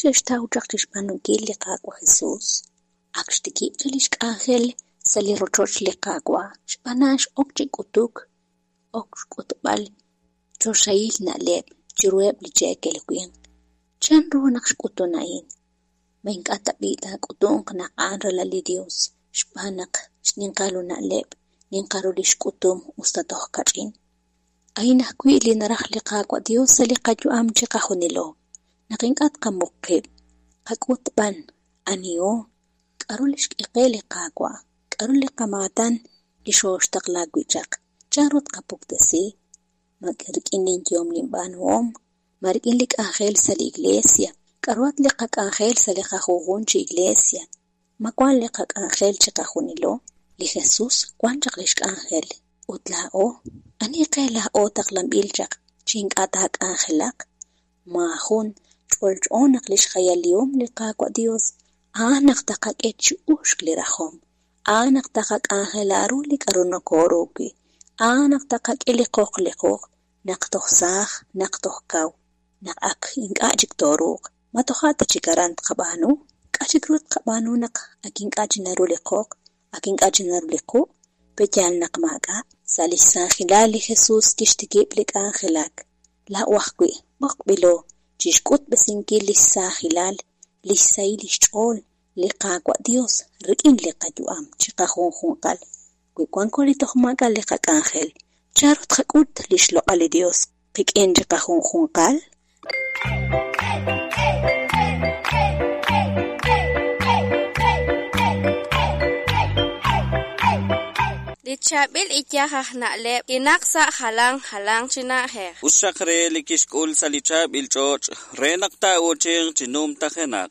xe'xtaw chaq chi xb'aanunkil li Qaawa' Jesus? Ak xtikib' chaq li xk'anjel sa' li rochoch li Qaawa', xb'aan a'an x'ok chi k'utuk, ok xk'utb'al choxahil na'leb' chiruheb' li cheekel winq. Chanru naq xk'utun a'in? Ma ink'a' tab'i' taak'utunq naq a'an ralal li Yos xb'aan naq xninqal ru na'leb', ninqal ru li xk'utum usta toj kach'in? A'in ajwi' li naraj li Qaawa' Yos sa' li qayu'am chiqajunilo, naq ink'a' tqamuq qib', qak'ut b'an aniho, k'aru li xk'e qe li Qaawa', k'aru li qamaatan li xooxtaqla wi' chaq, chanru tqapuktesi, ma rik'in linyehom linb'aanuhom, ma rik'in li k'anjel sa' li iglesia, k'aruhat li qak'anjel sa' li qajunjun chi iglesia, ma wank li qak'anjel chiqajunilo? Li Jesus wank chaq li xk'anjel ut laa'o, ani qe laa'o taqlanb'il chaq chi ink'a' taak'anjelaq? Maajun ch'olch'o naq li xjayalihom li Qaawa' Yos a'an naq taqak'e chi uxk li rajom, a'an naq taqak'anjela ru li k'aru nokooru wi', a'an naq taqak'e li qoq li qoq naq toj saaj, naq toj kaw, naq ak ink'a' chik tooruuq. Ma toja' ta chik aran tqab'aanu? K'a' chik ru tqab'aanu naq ak ink'a' chi naru li qoq, ak ink'a' chi naru li quq'? Pe'yaal naq maak'a'? Sa' li xsaajilal li Jesus kixtikib' li k'anjelak. Laa'o ajwi' b'oqb'ilo chi xk'utb'esinkil li xsaajilal, li xsahil li xch'ool li Qaawa' Yos rik'in li qayu'am chiqajunjunqal. Wi wanko li toj maak'a' li qak'anjel, chanru tqak'ut li xloq'al li Yos qik'in chiqajunjunqal? Li chaab'il iyaj aj na'leb' kinaq sa' jalan jalanq chi na'ajej. Us xaq re li kixk'ul sa' li chaab'il ch'och' re naq taa'uuchinq chi numtajenaq.